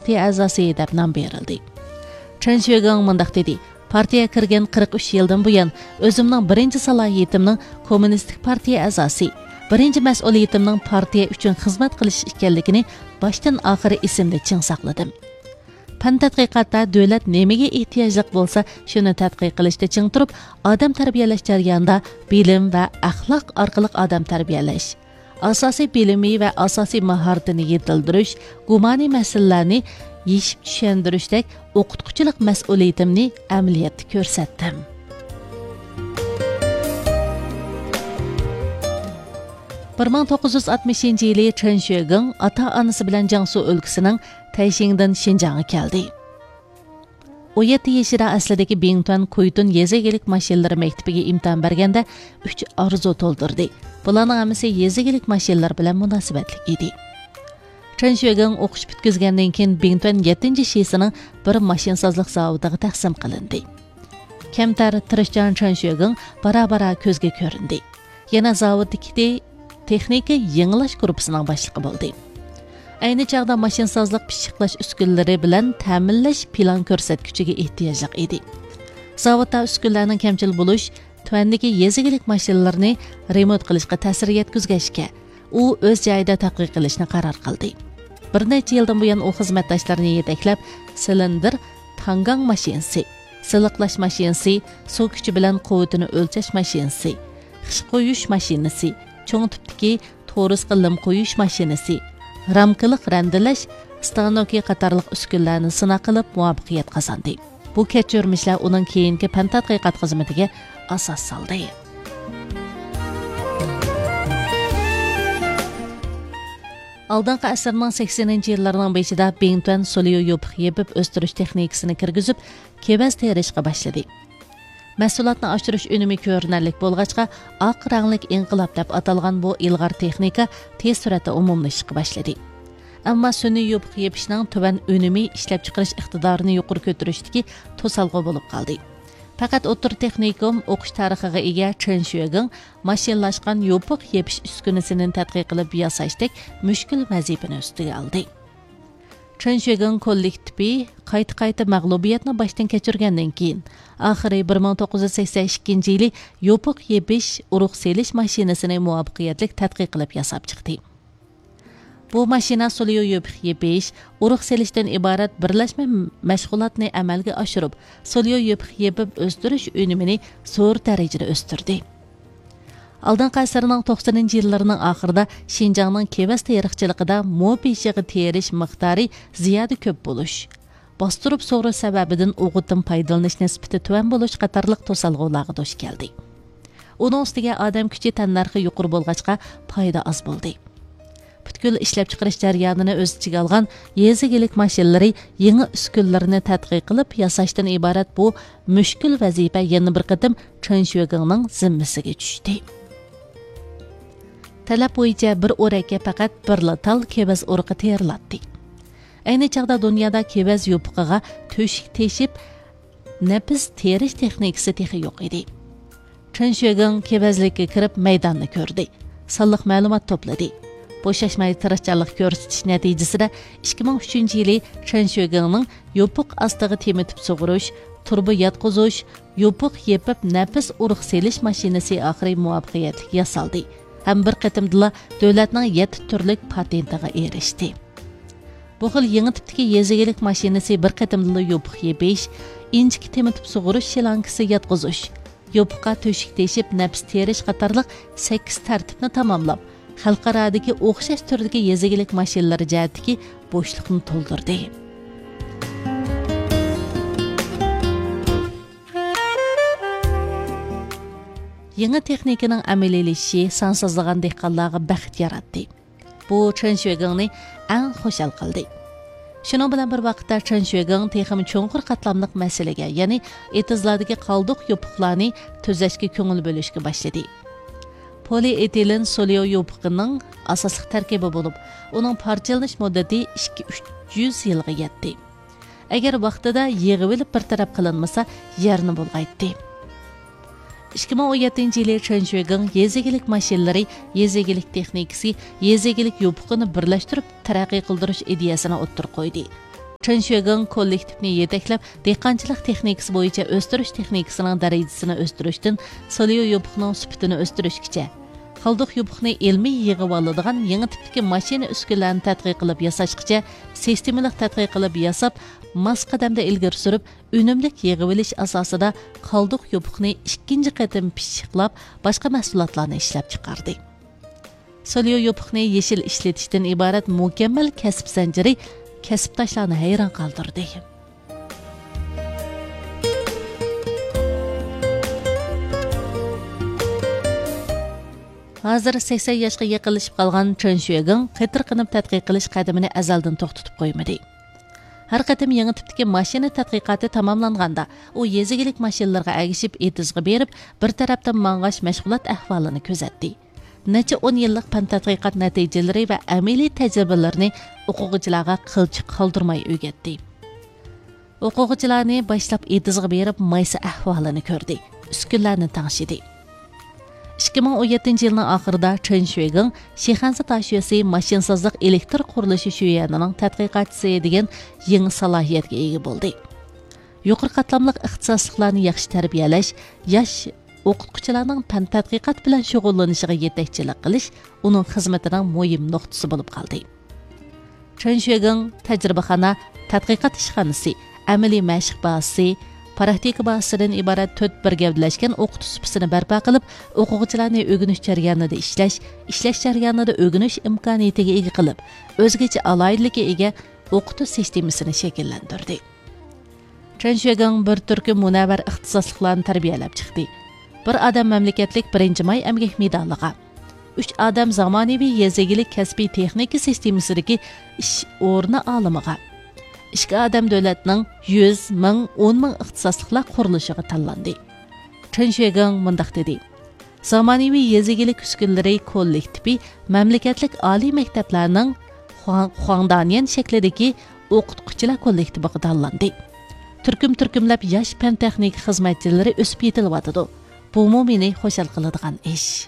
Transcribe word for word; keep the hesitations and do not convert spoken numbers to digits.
پارتىيە ئەزاسى دەپ نام بېرىلدى. چېن شۆگېڭ مۇنداق دېدى: پارتىيەگە كىرگەن قىرىق ئۈچ يىلدىن بۇيان، ئۆزۈمنىڭ بىرىنچى سالاھىيىتىمنىڭ كوممۇنىستىك پارتىيە ئەزاسى، بىرىنچى مەسئۇلىيىتىمنىڭ پارتىيە ئۈچۈن خىزمەت قىلىش ئىكەنلىكىنى باشتىن ئاخىر ئېسىمدە چىڭ ساقلىدىم. پەن تەتقىقاتتا دۆلەت نېمىگە ئېھتىياجلىق بولسا، شۇنى تەتقىق قىلىشتا چىڭ تۇرۇپ، ئادەم تەربىيەلەش جەريانىدا بىلىم ۋە ئەخلاق ئارقىلىق ئادەم تەربىيەلەش، ئاساسىي بىلىمى ۋە ئاساسىي ماھارىتىنى يېتىلدۈرۈش، گۇمانىي مەسىلىلەرنى يېشىپ چۈشەندۈرۈشتەك ئوقۇتقۇچىلىق مەسئۇلىيىتىمنى ئەمەلىيەتتە كۆرسەتتىم. بىر مىڭ توققۇز يۈز ئاتمىشىنچى يىلى چېن شۆگېڭ ئاتا-ئانىسى بىلەن جياڭسۇ ئۆلكىسىنىڭ تەيشىڭدىن شىنجاڭغا كەلدى. ئون يەتتە يېشىدا ئەسلىدىكى بىڭتۈەن كۇيتۇن يېزا ئىگىلىك ماشىنىلىرى مەكتىپىگە ئىمتىھان بەرگەندە ئۈچ ئارزۇ تولدۇردى. بۇلارنىڭ ھەممىسى يېزا ئىگىلىك ماشىنىلىرى بىلەن مۇناسىۋەتلىك ئىدى. چېن شۆگېڭ ئوقۇش پۈتكۈزگەندىن كېيىن، بىڭتۈەن يەتتىنچى شىسىنىڭ بىر ماشىنىسازلىق زاۋۇتىغا تەقسىم قىلىندى. كەمتەر، تىرىشچان چېن شۆگېڭ بارا-بارا كۆزگە كۆرۈندى. يەنە زاۋۇتتىكى تېخنىكا يېڭىلاش گۇرۇپپىسىنىڭ باشلىقى بولدى. ئەينى چاغدا ماشىنىسازلىق پىششىقلاش ئۈسكۈنىلىرى بىلەن تەمىنلەش پىلان كۆرسەتكۈچىگە ئېھتىياجلىق ئىدى. زاۋۇتتا ئۈسكۈنىلەرنىڭ كەمچىل بولۇش، تۆۋەندىكى يېزا ئىگىلىك ماشىنىلىرىنى رېمونت قىلىشقا تەسىر يەتكۈزگەچكە، ئۇ ئۆز جايىدا تەتقىق قىلىشنى قارار قىلدى. بىر نەچچە يىلدىن بۇيان ئۇ خىزمەتداشلىرىنى يېتەكلەپ، سىلىندىر تاڭگاڭ ماشىنىسى، سىلىقلاش ماشىنىسى، سۇ كۈچى بىلەن قۇۋۋىتىنى ئۆلچەش ماشىنىسى، خىش قويۇش ماشىنىسى، چوڭ تىپتىكى تورۇسقا لىم قويۇش ماشىنىسى، رامكىلىق رەندىلەش ستانوكى قاتارلىق ئۈسكۈنىلەرنى سىناق قىلىپ مۇۋەپپەقىيەت قازاندى. بۇ كەچۈرمىشلەر ئۇنىڭ كېيىنكى پەن تەتقىقات خىزمىتىگە ئاساس سالدى. ئالدىنقى ئەسىرنىڭ سەكسىنىنچى يىللىرىنىڭ بېشىدا بىڭتۈەن سوليو يوپۇق يېپىپ ئۆستۈرۈش تېخنىكىسىنى كىرگۈزۈپ، كېۋەز تېرىشقا باشلىدى. مەھسۇلاتنى ئاشۇرۇش ئۈنۈمى كۆرۈنەرلىك بولغاچقا، ئاق رەڭلىك ئىنقىلاب دەپ ئاتالغان بۇ ئىلغار تېخنىكا تېز سۈرئەتتە ئومۇملىشىشقا باشلىدى. ئەمما سۈنئىي يوپۇق يېپىشنىڭ تۆۋەن ئۈنۈمى ئىشلەپچىقىرىش ئىقتىدارىنى يۇقىرى كۆتۈرۈشتىكى توسالغۇ بولۇپ قالدى. پەقەت ئوتتۇرا تېخنىكوم ئوقۇش تارىخىغا ئىگە چېن شۆگېڭ ماشىنىلاشقان يوپۇق يېپىش ئۈسكۈنىسىنى تەتقىق قىلىپ ياساشتەك مۈشكۈل ۋەزىپىنى ئۈستىگە ئالدى. چېن شۆگېڭ كوللېكتىپى قايتا-قايتا مەغلۇبىيەتنى باشتىن كەچۈرگەندىن كېيىن، ئاخىرى بىر مىڭ توققۇز يۈز سەكسەن ئىككىنچى يىلى يوپۇق يېپىش، ئۇرۇق سېلىش ماشىنىسىنى مۇۋەپپەقىيەتلىك تەتقىق قىلىپ ياساپ چىقتى. بۇ ماشىنا سوليو يوپۇق يېپىش، ئۇرۇق سېلىشتىن ئىبارەت بىرلەشمە مەشغۇلاتنى ئەمەلگە ئاشۇرۇپ، سوليو يوپۇق يېپىپ ئۆستۈرۈش ئۈنۈمىنى زور دەرىجىدە ئۆستۈردى. ئالدىنقى ئەسىرنىڭ توقسىنىنچى يىللىرىنىڭ ئاخىرىدا شىنجاڭنىڭ كېۋەز تېرىقچىلىقىدا مو بېشىغا تېرىش مىقدارى زىيادە كۆپ بولۇش، باستۇرۇپ سۇغۇرۇش سەۋەبىدىن ئوغۇتتىن پايدىلىنىش نىسبىتى تۆۋەن بولۇش قاتارلىق توسالغۇلارغا دۇچ كەلدى. ئۇنىڭ ئۈستىگە ئادەم كۈچى تەننەرخى يۇقىرى بولغاچقا، پايدا ئاز بولدى. پۈتكۈل ئىشلەپچىقىرىش جەريانىنى ئۆز ئىچىگە ئالغان يېزا ئىگىلىك ماشىنىلىرى يېڭى ئۈسكۈنىلىرىنى تەتقىق قىلىپ ياساشتىن ئىبارەت بۇ مۈشكۈل ۋەزىپە يەنە بىر قېتىم چېن شۆگېڭنىڭ زىممىسىگە چۈشتى. تەلەپ بويىچە بىر ئورەككە پەقەت بىرلا تال كېۋەز ئۇرۇقى تېرىلاتتى. ئەينى چاغدا دۇنيادا كېۋەز يوپۇقىغا تۆشۈك تېشىپ، نەپىس تېرىش تېخنىكىسى تېخى يوق ئىدى. چېن شۆگېڭ كېۋەزلىككە كىرىپ مەيداننى كۆردى. سانلىق مەلۇمات توپلىدى. بوشاشماي تىرىشچانلىق كۆرسىتىش نەتىجىسىدە ئىككى مىڭ ئۈچىنچى يىلى چېن شۆگېڭنىڭ يوپۇق ئاستىغا تېمىتىپ سۇغۇرۇش، تۇرۇبا ياتقۇزۇش، يوپۇق يېپىپ نەپىس ئۇرۇق سېلىش ماشىنىسى ئاخىرى مۇۋەپپەقىيەتلىك ياسالدى ھەم بىر قېتىمدىلا دۆلەتنىڭ يەتتە تۈرلۈك پاتېنتىغا ئېرىشتى. بۇ خىل يېڭى تىپتىكى يېزا ئىگىلىك ماشىنىسى بىر قېتىمدىلا يوپۇق يېپىش، ئىنچىكە تېمىتىپ سۇغۇرۇش شلانكىسى ياتقۇزۇش، يوپۇققا تۆشۈك تېشىپ نەپىس تېرىش قاتارلىق سەككىز تەرتىپنى تاماملاپ، خەلقئارادىكى ئوخشاش تۈردىكى يېزا ئىگىلىك ماشىنىلىرى جەھەتتىكى بوشلۇقنى تولدۇردى. يېڭى تېخنىكىنىڭ ئەمەلىيلىشىشى سانسىزلىغان دېھقانلارغا بەخت ياراتتى. بۇ چېن شۆگېڭنى ئەڭ خۇشال قىلدى. شۇنىڭ بىلەن بىر ۋاقىتتا، چېن شۆگېڭ تېخىمۇ چوڭقۇر قاتلاملىق مەسىلىگە، يەنى ئېتىزلاردىكى قالدۇق يوپۇقلارنى تۈزەشكە كۆڭۈل بۆلۈشكە باشلىدى. پولىئېتىلېن سوليو يوپۇقىنىڭ ئاساسلىق تەركىبى بولۇپ، ئۇنىڭ پارچىلىنىش مۇددىتى ئىككى يۈز يىلغا يەتتى. ئەگەر ۋاقتىدا يىغىۋېلىپ بىر تەرەپ قىلىنمىسا، يەرنى بۇلغايتتى. ئىككى مىڭ ئون يەتتىنچى يىلى چېن شۆگېڭ يېزا ئىگىلىك ماشىنىلىرى، يېزا ئىگىلىك تېخنىكىسى، يېزا ئىگىلىك يوپۇقىنى بىرلەشتۈرۈپ تەرەققىي قىلدۇرۇش ئىدىيەسىنى ئوتتۇرىغا قويدى. چېن شۈگېڭ كوللېكتىپنى يېتەكلەپ، دېھقانچىلىق تېخنىكىسى بويىچە ئۆستۈرۈش تېخنىكىسىنىڭ دەرىجىسىنى ئۆستۈرۈشتىن سولياۋ يوپۇقنىڭ سۈپىتىنى ئۆستۈرۈشكىچە، قالدۇق يوپۇقنى ئىلمىي يىغىۋالىدىغان يېڭى تىپتىكى ماشىنا ئۈسكۈنىلەرنى تەتقىق قىلىپ ياساشقىچە، سىستېمىلىق تەتقىق قىلىپ ياساپ، ماس قەدەمدە ئىلگىرى سۈرۈپ، ئۈنۈملۈك يىغىۋېلىش ئاساسىدا قالدۇق يوپۇقنى ئىككىنچى قېتىم پىششىقلاپ، باشقا مەھسۇلاتلارنى ئىشلەپچىقاردى. سولياۋ يوپۇقنى يېشىل ئىشلىتىشتىن ئىبارەت مۇكەممەل كەسىپ زەنجىرى كەسىپداشلارنى ھەيران قالدۇردى. ھازىر سەكسەن ياشقا يېقىنلىشىپ قالغان چېن شۈگېڭ قېتىرقىنىپ تەتقىق قىلىش قەدىمىنى ئەزەلدىن توختىتىپ قويمىدى. ھەر قېتىم يېڭى تىپتىكى ماشىنا تەتقىقاتى تاماملانغاندا، ئۇ يېزا ئىگىلىك ماشىنىلىرىغا ئەگىشىپ ئېتىزغا بېرىپ، بىر تەرەپتىن ماڭغاچ مەشغۇلات ئەھۋالىنى كۆزەتتى. نەچچە ئون يىللىق پەن تەتقىقات نەتىجىلىرى ۋە ئەمەلىي تەجرىبىلىرىنى ئوقۇغۇچىلارغا قىلچە قالدۇرماي ئۆگەتتى. ئوقۇغۇچىلارنى باشلاپ ئېتىزغا بېرىپ مايسا ئەھۋالىنى كۆردى، ئۈسكۈنىلەرنى تەڭشىدى. ئىككى مىڭ ئون يەتتىنچى يىلنىڭ ئاخىرىدا چېن شۈگېڭ شىخەنزە تاشيۆسى ماشىنىسازلىق ئېلېكتر قۇرۇلۇشى شۆيۈەنىنىڭ تەتقىقاتچىسى دېگەن يېڭى سالاھىيەتكە ئىگە بولدى. يۇقىرى قاتلاملىق ئىختىساسلىقلارنى ياخشى تەربىيەلەش، ياش ئوقۇتقۇچىلارنىڭ پەن تەتقىقات بىلەن شۇغۇللىنىشىغا يېتەكچىلىك قىلىش ئۇنىڭ خىزمىتىنىڭ مۇھىم نۇقتىسى بولۇپ قالدى. چېن شۈگېڭ تەجرىبىخانا، تەتقىقات ئىشخانىسى، ئەمەلىي مەشىق بازىسى، پراكتىكا بازىسىدىن ئىبارەت تۆت بىر گەۋدىلەشكەن ئوقۇتۇش سۇپىسىنى بەرپا قىلىپ، ئوقۇغۇچىلارنى ئۆگىنىش جەريانىدا ئىشلەش، ئىشلەش جەريانىدا ئۆگىنىش ئىمكانىيىتىگە ئىگە قىلىپ، ئۆزگىچە ئالاھىدىلىككە ئىگە ئوقۇتۇش سىستېمىسىنى شەكىللەندۈردى. چېن شۈگېڭ بىر تۈركۈم مۇنەۋۋەر ئىختىساسلىقلارنى تەربىيەلەپ چىقتى. بىر ئادەم مەملىكەتلىك بىرىنچى ماي ئەمگەك مېدالىغا، ئۈچ ئادەم زامانىۋى يېزا ئىگىلىك كەسپىي تېخنىكا سىستېمىسىدىكى ئىش ئورنى ئالىمىغا، ئىككى ئادەم دۆلەتنىڭ يۈز، مىڭ، ئون مىڭ ئىختىساسلىقلار قۇرۇلۇشىغا تاللاندى. چېن شۈگېڭ مۇنداق دېدى: زامانىۋى يېزا ئىگىلىك ئۈسكۈنىلىرى كوللېكتىپى مەملىكەتلىك ئالىي مەكتەپلەرنىڭ خۇاڭ-، خۇاڭدانيەن شەكلىدىكى ئوقۇتقۇچىلار كوللېكتىپىغا تاللاندى. تۈركۈم-تۈركۈملەپ ياش پەن-تېخنىكا خىزمەتچىلىرى ئۆسۈپ يېتىلىۋاتىدۇ. بۇمۇ مېنى خۇشال قىلىدىغان ئىش.